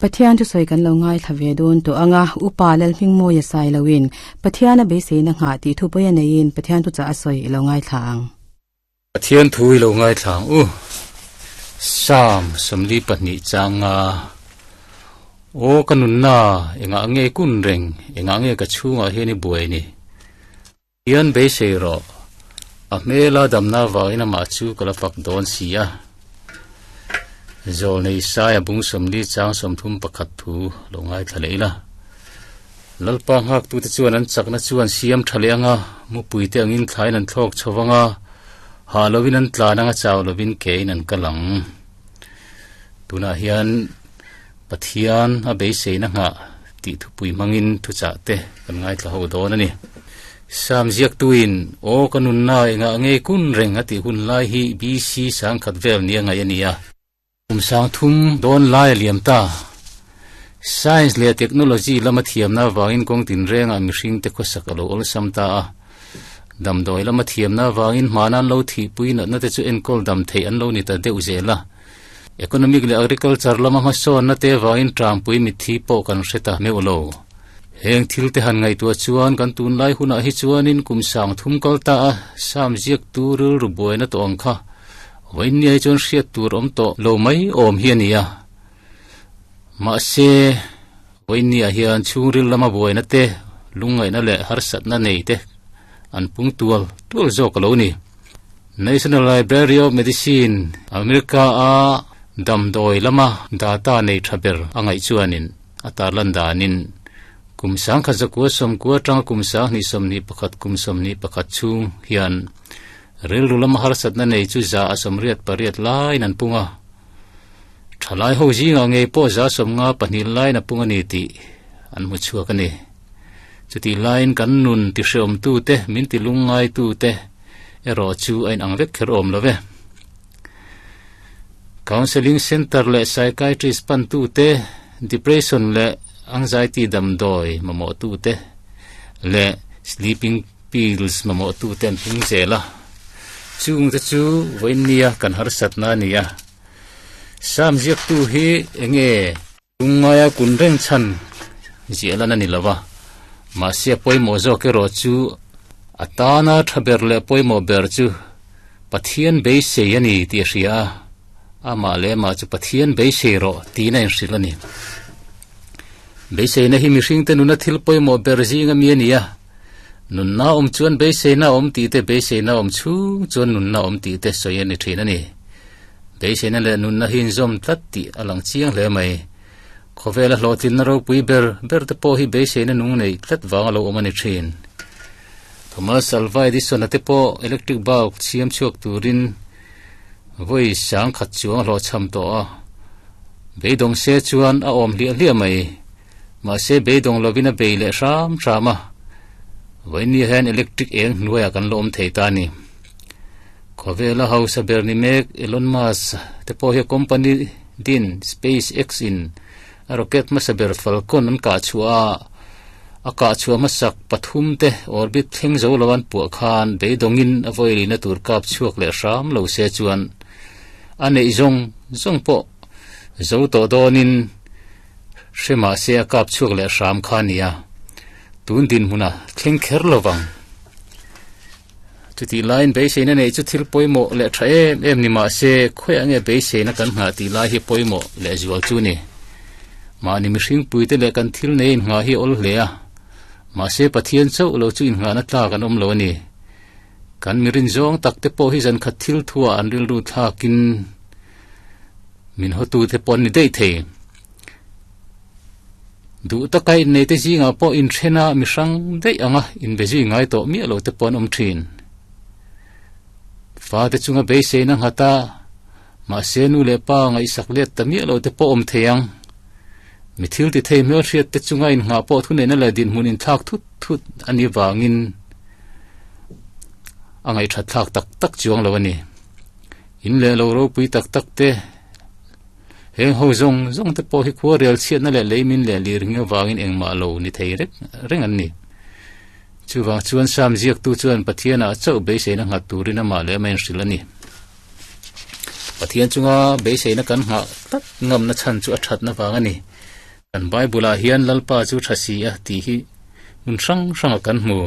Pathian thusawi kan lo ngaithla ve dawn tawh ang a, Upa Lalhmingmawia sai loin Pathian a beiseina nghah tih thupawi a neiin Pathian thuchah a sawi i lo ngaithla ang. Pathian thu i lo ngaithla ang u. Psalm 42 changa Aw ka nunna, engah nge kun reng, engah nge ka chhungah hian i buai ni? Hian beisei rawh, a hmela damna avangin amah chu ka la fak dawn si a. Zawlnei Saia bung 40 chang 31 thu lo ngaithla leh ila. Lalpa nghaktute chuan an chakna chu an siam tha leh anga, mupuite angin thlain an thlawk chho anga, hah lovin an tlan anga chau lovin kein an kal ang. Tunah hian Pathian a beiseina nghah tih thupui hmangin thuchah te kan ngaithla ho dawn a ni. Sam ziaktuin, Aw ka nunna engah nge kun reng a tih hun lai hi BC sangkhat vel nia ngaih a ni a. Kum sangthum dawn lai a liam ta. Science leh technology lama thiamna avangin kawng tinrengah mihringte khawsak a lo awlsam ta a. Damdawi lama thiamna avangin hmana an lo thihpui natna te chu enkawl dam theih an lo ni ta deuh zel a. Economic leh agriculture lama hmasawnna te avangin tangpui mitthi pawh kan hre ta meuh lo. Heng thil te han ngaihtuah chuan kan tunlai hunah hi chuanin kum sang thum kal ta a Sam ziaktu rilru buaina tawh ang kha vawiinniai chuan hriat tur awm tawh lo mai awm hi a ni a. Mahse, vawiinniah hian chhungril lama buaina te, lungngaihna leh harsatna nei te an pung tual tual zawk a lo ni. National Library of Medicine, America-a damdawi lama data nei tha ber a ngaih chuanin a tarlan danin kum sangkhat zakua sawmkua atanga kum sanghnih sawmhnih pakhat kum sawmhnih pakhat chhung hian rilru lama harsatna nei chu za a sawmriat pariat laiin an pung a. Thalai ho zingah ngei pawh za sawmnga pahnih laiin a pung a ni tih an hmu chhuak a ni. Chutih laiin kan nun tihreawmtute, min tilungngaitute erawh chu a inang vek kher awm lo ve. Counselling Centre leh Psychiatrist pantute, Depression leh Anxiety damdawi mamawhtute leh Sleeping Pills mamawhtute an pung zel a. Chungte chu vawiinnia kan harsatna a ni a. Sam ziaktu hi enge? Lungngaia kun reng chhan ziah lan a ni lo va, mahse a pawimawh zawk erawh chu a tana tha ber leh pawimawh ber chu Pathian beisei a ni tih a hria a, amah leh amah chu Pathian beisei rawh tiin a inhrilh a ni. Beiseina hi mihringte nuna thil pawimawh ber zinga mi a ni a, nunna awm chuan beiseina a awm tih te, beiseina awm chhung chuan nunna awm tih te sawi a ni thin a ni. Beiseina leh nunna hi inzawm tlat tih a lang chiang hle mai. Khawvela hlawhtlinna ropui ber ber te pawh hi beiseina nung nei tlat vang a lo awm a ni thin. Thomas Alva Edison-a te pawh electric bulb siam chhuak turin vawi sang khat chuang a hlawhchham tawh a. Beidawng se chuan a awm hliah hliah mai. Mahse beidawng lovin a bei leh hram hram a. Vawiinni hian electric eng hnuaiah kan la awm thei ta a ni. Khawvela hausa ber ni mek Elon Musk te pawh hi a company din SpaceX in a rocket hmasa ber Falcon an kah chhuah a, a kah chhuah hmasak pathum te orbit thleng zo lo an puah khan beidawngin a vawilina tur kap chhuak leh hram lo se chuan a neih zawng zawng pawh zo tawh dawnin hre mahse a kap chhuak leh hram kha a ni a, tun dinhmuna thleng kher lovang. Chutih laiin beiseina neih chu thil pawimawh leh tha em em ni mah se, khawiah nge beiseina kan nghah tih lai hi pawimawh leh zual chu ni. Mahni mihring puite leh kan thil nei innghah hi a awl hle a, mahse Pathian chauh lo chu innghahna tlak an awm lo a ni. Kan mirin zawng tak te pawh hi zankhat thil thuah an rilru thlakin min hawtute pawh an ni daih thei. Duh taka inneite zingah pawh inthen a mi hrang daih anga inbe zui ngai tawh miah lo te pawh an awm thin. Fate chunga beiseina nghat a, mahse nu leh pa ngaihsak let ta miah lo te pawh awm thei ang. Mi thil ti thei hmelhriat te chunga innghah pawh thuneihna leh dinhmun inthlak thut thut a nih vangin a ngaihthat thlak tak tak chuang lo a ni. In leh lo ropui tak tak te Heng ho zawng zawng te pawh hi khua rial chhiatna leh leimin leh lir hing avangin engmah lo ni thei reng reng an ni. Chuvang chuan Sam ziaktu chuan Pathianah chauh beiseina nghat turin amah leh amah inhrilh a ni. Pathian chunga beiseina kan nghah tlat ngamna chhan chu a thatna vang a ni. Kan Bible-ah hian Lalpa chu tha si a tih hi hmun hrang hranga kan hmu.